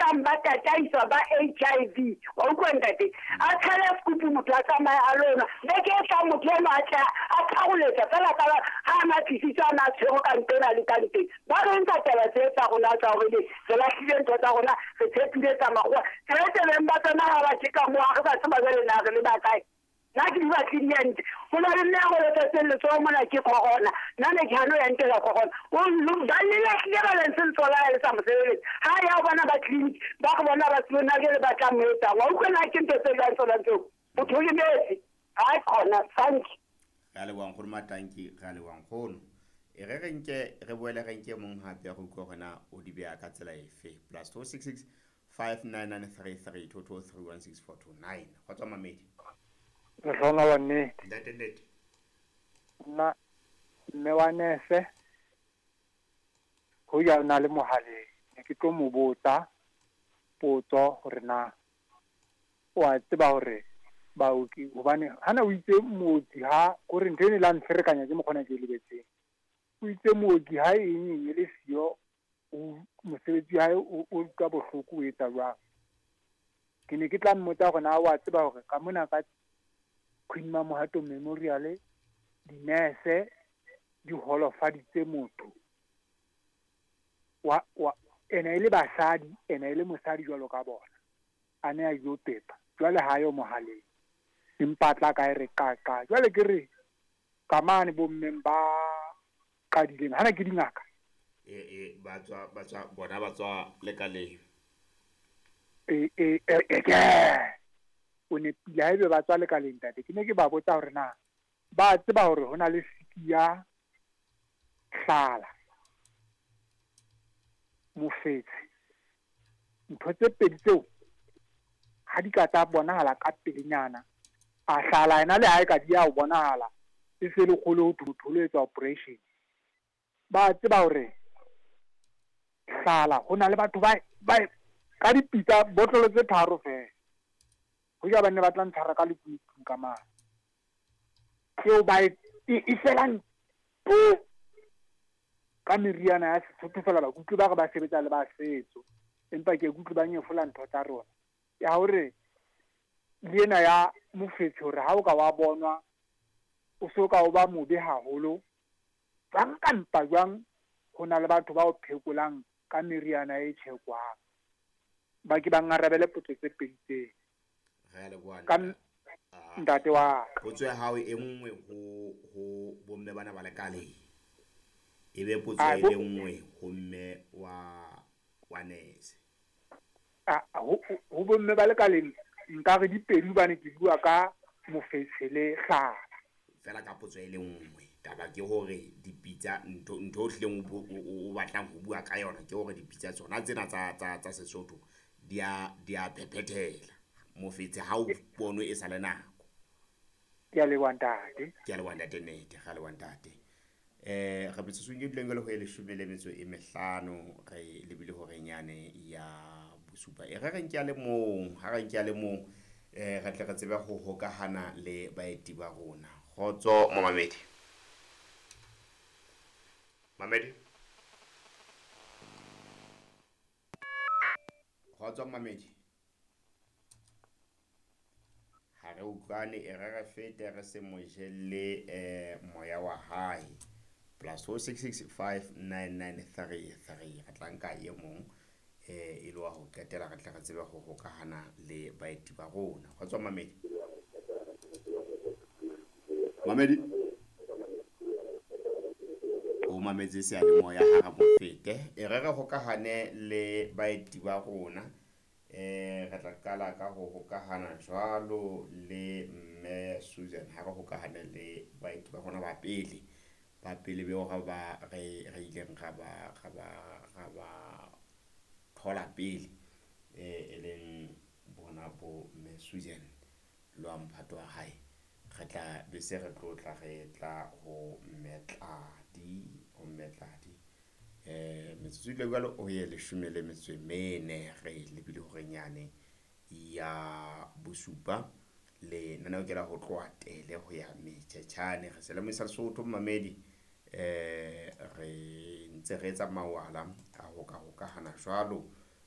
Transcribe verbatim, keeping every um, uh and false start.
tlang ba tataiswa ba H I V. Wa utlwa ntate? A tshele sekupu motho a tsamaye a lona. Beke e tlang motho eno a tla a tharoletsa fela ka ha a na tlisitswe a na tshwere ka ntena le ka nteng. Ba re nka taba tse tsa rona tsa hore re lahlile ntho tsa rona, re tshepile tsa makgowa. Tjhelete beng ba tsona ha ba tjeka moo, ha re ba tseba jwale na re le ba kae. Nna ke di batlile ente. Ho na le mme a holofetseng letsoho mona ke corona. Nna ne ke hano ya ntela corona. O ba le lahlile ba lentse letsoho la hae le sa mo sebeletse. Ha ya ho bona ba clinic, ba re bona ba tsebe na jwale ba tla mo etsang. Wa utlwa na ke ntho tse jwang tsona tseo? Motho o lemetse. Ha khona, thank you. Re a leboha nkgono Matanki, re a leboha nkgono. E re re nke re boele re nke mong hape re utlwe hore na o di beha ka tsela efe. Plus two six six five nine nine three three two two three one six four two nine. Kgotso mamedi. Lehlohonolo nnete. Ntate nnete. Nna mme wa nese ho ya na le mohaleng, ne ke tlo mo botsa potso hore na o a tseba hore baoki hobane hana o itse mooki ha kore ntho ene la ntsherekanya ke mokgona ke e lebetseng. O itse mooki ha eng eng e le siyo, o mosebetsi wa hae o utlwa bohloko o etsa jwang. Ke ne ke tla mmotsa hore na wa tseba hore ka mona ka Queen Mamohato Memorial dinese di holofaditse motho wa wa ena e le basadi, ena e le mosadi jwalo ka bona, a ne a yo pepa jwale ha yo mohaleng, empa tla ka e re ka ka jwale ke re ka mane bommeng ba qadileng hana ke dingaka e e ba tswa ba tswa bona ba tswa lekaleng e e e ke o ne pila haebe ba tswa lekaleng ntate. Ke ne ke ba botsa hore na ba tseba hore hona le siki ya hlala mofetshe, ntho tse pedi tseo ha di ka tsa bonahala ka pelenyana, a hlala ena le ha e ka di ya ho bonahala e se le kgolo ho thotho lo etsa operation. Ba tseba hore hlala hona le batho ba ba ka dipitsa botlolo tse tharo fela ho ja ba ne ba tla ntshara ka lekunutu ka mane tseo ba e e felang ka meriana ya Sesotho fela. Ba kutlwe ba re ba sebetsa le ba setso, empa ke kutlwe ba nyefola ntho tsa rona ya hore le ena ya mofetshe hore ha o ka wa bonwa o so ka o ba mobe haholo jwang ka mpa jwang, ho na le batho ba o phekolang ka meriana e tjhekwang. Ba ke ba ngarabele potso tse pedi tse. Re a leboha ka ntate wa potso ya hao e nngwe ho ho bomme bana ba lekaleng, e be potso e le nngwe ho mme wa wa nese. A ho ho bomme ba lekaleng nka re dipedi hobane ke bua ka mofetshe le hlala fela ka potso e le nngwe. Taba ke hore dipitsa ntho ntho o hlileng o batlang ho bua ka yona ke hore dipitsa tsona tsena tsa tsa tsa Sesotho di a di a phephethela mofetshe ha o bonwe e sa le nako. Ke a leboha ntate. Ke a leboha ntate nnete, re a leboha ntate. Eh re metsotsong e duleng le ho e leshome le metso e mehlano re lebile horeng yane ya bosupa. E re re nke a le mong, ha re nke a le mong eh re tle re tsebe ho hokahana le baeti ba rona. Kgotso momamedi. Mamedi. Kgotso mamedi. Ha re utlwane, e re re fete re se mo jelle eh moya wa hae. Plus four six six five nine nine three three. Re tla nka e mong eh e le wa ho qetela re tle re tsebe ho hokahana le baeti ba rona. Kgotso mamedi. Mamedi. O mametse seyalemoya ha re mo fete. E re re hokahane le baeti ba rona. Eh re tla qala ka ho hokahana jwalo le mme Susan ha re hokahane le baeti ba rona ba pele. Ba pele beo ra ba re re ileng ra ba ra ba ra ba thola pele eh e leng bona bo mme Susan lo mphato wa hae. Re tla be se re tlotla re tla ho mme Tladi, ho mme Tladi. Eh metsotso ile jwalo o ye leshome le metso e mene re lebile horeng yane ya bosupa. Le nna ke la ho tloha tele ho ya Metjhetjhane. Re se le moisa Lesotho mamedi eh re ntse re etsa mawala a ho ka hokahana jwalo